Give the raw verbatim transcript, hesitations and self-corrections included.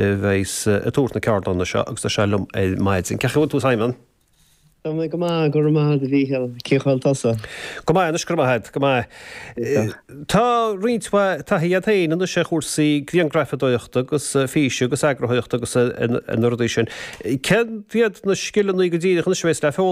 A bheas ag tabhairt na ceardlanna seo agus tá sé liom ar maidin. Cén chaoi a bhfuil tú, Simon? Tá mé go maith, go raibh maith agat, a Mhíchíl. Cén chaoi a bhfuil tusa? Go maith anois, go raibh maith agat, go maith. Tá roinnt mhaith taithí agat féin anois ar chúrsaí grianghrafadóireachta agus físe agus eagarthóireachta agus na rudaí sin. Céard iad na scileanna go díreach anois a bheas le foghlaim?